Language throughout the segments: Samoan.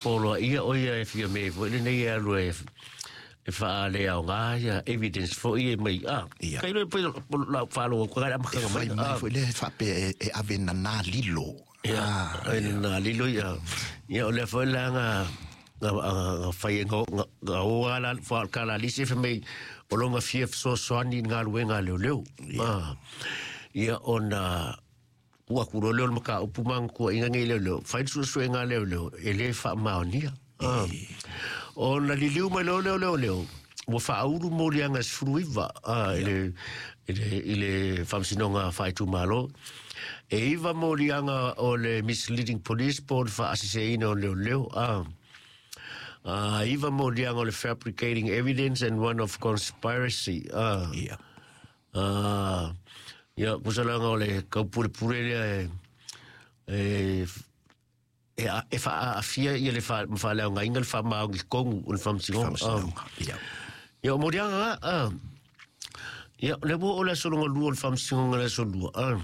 Poloaia ʻo ia e Fiamē foi lenei e alu e e faaleaoga ia evidence foi e mai a Ia. kai loe pei lau faalogo atu kai E amataga fai mai mai a foi lea e faapea e, e ave nanā lilo. ia Ah, e na lilo ia ia o lea foi la nga nga nga fai nga nga o ala fa kala lisi fe mai o longa fia fesoasoani i galuega a leoleo a ia ona ua ku leo le mataupu ma kuaʻiga nei leoleo fai le suesuega a leoleo e lē faamaonia a ona liliu mai loa lea o leoleo ua faaulu moliaga e 19 a i le i le i le faamasinoga faaitumalo e 9 moliaga o le misleading police po o le faaaseseina o leoleo a a 9 moliaga o le fabricating evidence and one of conspiracy a Ia. a ia kusalaga o le kaupulepule lea e e e a- e faaafia ia le fa- faaleaogaina le faamaoni tonu o le faamasinoga. Faamasinoga. Ia. Ia o moliaga a ia le ua o le aso lona lua o le faamasinoga le aso lua a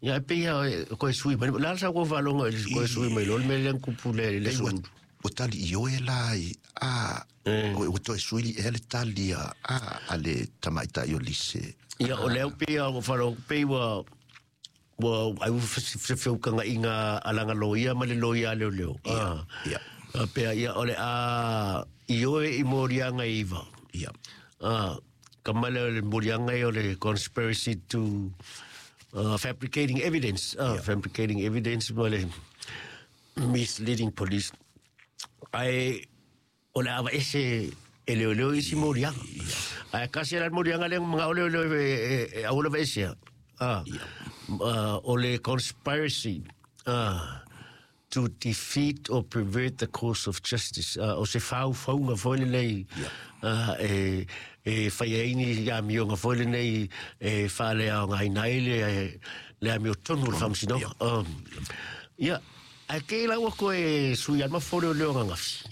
ia e pei lava e koe sui mai la sa koe faalogo i le koe sui mai loa le mea lea na tupu le le Pei aso ua, lua. ua tali i oe la i a ua toe sui ea le tali a, a, a le tamaitai o Lise. Ia o lea pei lava ua faalogo pei ua ua ai ua feukagaiga a lana loia ma le loia a leoleo. Ia, ia. A pea ia o le a i oe i moliaga e 9. Ia. A ka male o le moliaga e o le conspiracy to fabricating evidence, fabricating evidence ma le misleading police. Ae o le ava ese e leoleo isi moliaga. Ae kasi la moliaga lea manao leoleo e e aua lava esea. A o le conspiracy to defeat or pervert the course of justice. O se faufauga foi lenei e e fai ai ni amioga foi lenei e faaleaogaina ai le le amiotonu o le faamasinoga. Ia ae ke la ua koe sui ai ma fole o ananafi.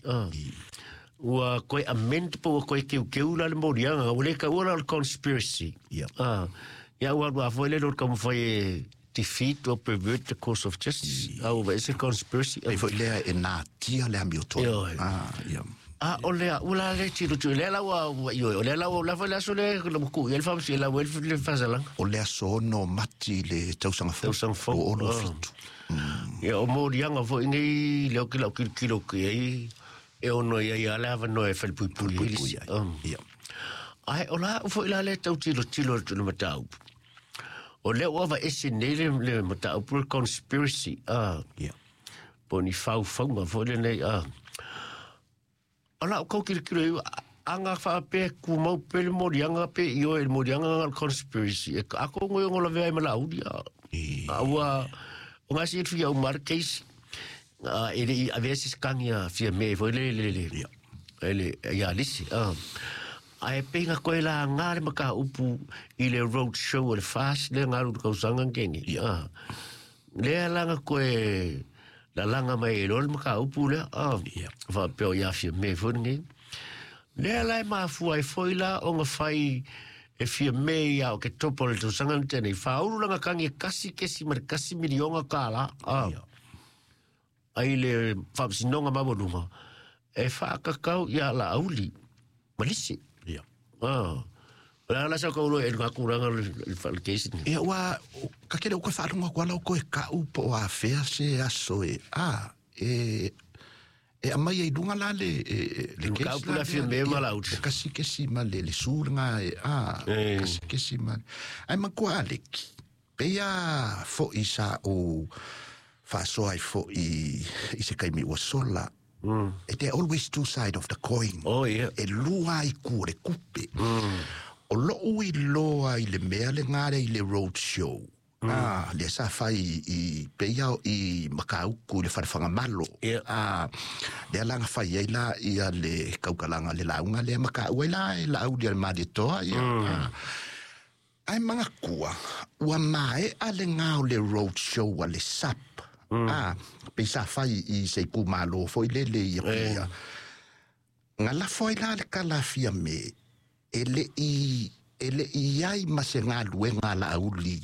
Ua koe amend po ua koe keukeu la le moliaga ua le taua la o le conspiracy. Ia. Ia ua alu foi le lo taumafai e defeat or pervert the course of justice. A ua ese conspiracy. Pei foi lea e natia le amiotonu. Ioe. Ah, ia. A o lea ua la le tiro tu lea la ua ua ioe o lea la ua la foi le aso le la ku ia le faamasi la ua le faasalaga. O le aso 6 Mati le tausaga fou. Tausaga fou. 2027. Ia o moliaga foi nei lea o ke lau kilokilo ki ai e ono ia ia le avanoa e falepuipui ai le Puipui isi. ai. Ia. Ae o la foi la le tautilotilo atu le mataupu. O lea ua aveese nei le le mataupu le conspiracy a Ia. po o ni faufauga foi lenei a. O lau kau kilokilo i aga faapea kumau pe le moliaga pe i oe le moliaga nga le conspiracy. E ako ngoi o lavea ai ma lauli a. A ua o ngasi e fia umar case a e le i avea se kangi a Fiamē foi le le le Ia. e le ia lisi a. Ae pei nga koe la ngā le mataupu i le road show o le FAST le ngalu le kausaga keni. A. Lea la nga koe la langa mai e loa le mataupu lea a. Ia. Faapea o ia Fiamē foi lenei. Lea la e mafua ai foi la o nga fai e Fiamē ia o ke topo o le tausaga na tenei. Faaulu langa kangi e 1.1 miliona kālā a. Ia. Ai le faamasinoga maualuga e faakakau ia Laauli ma lisi. Ia. A. O le a la sa kaulo e ngā kūranga le le le case ni. Ia ua ka kele o koe faalogo atu ala o koe ka'u po o afea se aso e a e e aumai ai luga la le e, e, le Le case mataupu la la lea, Fiamē ma ia, Laauli. e kasi kesi ma le le su lena e a E. kasi kesi ma ai matua Aleki pei a fo'i sa ou faasoa ai fo'i i se kaimi ua sola. There are always two side of the coin. Oh, ia. E lua ai ku o le kupe. O lou iloa i le mea legā lea i le road show. Ah, lea sa fai i peia o i Makauku i le falefagamalo. Ia. Ah, lea la na fai ai la ia le kaukalaga le lauga lea ma taua ai la e Laauli a le Malietoa ia. Ah. Ae magatua ua mae'a legā o le road show a le SAP. Ah, pei sa fai i se itumālō foi lele ia pia. Ga lafo ai la le kalafia me e le'i e le'i ai ma se galuega a Laauli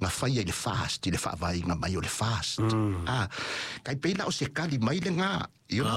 Na faia i le FAST i le faavaeina mai o le FAST. Ah, kai pei la o se kali mai le gā, you know.